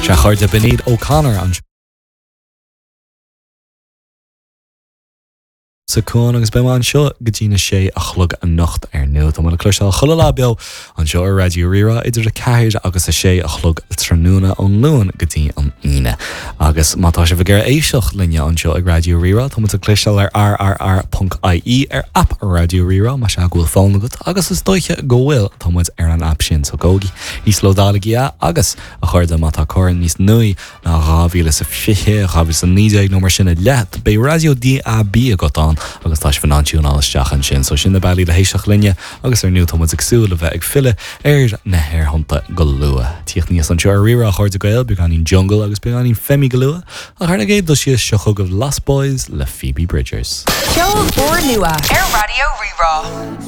Sea, a chairde, b'in iad O'Connor anseo sa Cuan agus beidh mé anseo go dtí na sé a chlog anocht ar ndóigh. Tá mé le cloisteáil chuile lá beo anseo ar Raidió Rí-Rá idir 4 agus 6 a chlog tráthnóna ón Luan go dtí an Aoine. Agus má tá sibh ag iarraidh éisteacht linne anseo ag Raidió Rí-Rá, tá muid le cloisteáil ar rrr.ie ar aip Raidió Rí-Rá, más ea go bhfuil fón agat agus is dóiche go bhfuil, tá muid ar an aip sin so gabhaigí, íoslódálaigí é agus, a chairde, má tá carr níos nuaí ná 2020, 2019 nó mar sin i leith, beidh raidió DAB agat ann agus tá sibh in ann tiúnáil isteach ansin. So sin na bealaí le héisteacht linne agus ar ndóigh tá muid ag súil le bheith ag filleadh ar na haerthonnta go luath. Tíocht aníos anseo ar Rí-Rá, a chairde Gael, beagáinín Jungle agus beagáinín Femi go luath, ach ar an gcéad dul síos seo chugaibh Lost Boys le Phoebe Bridgers. Ceol úrnua ar Raidió Rí-Rá.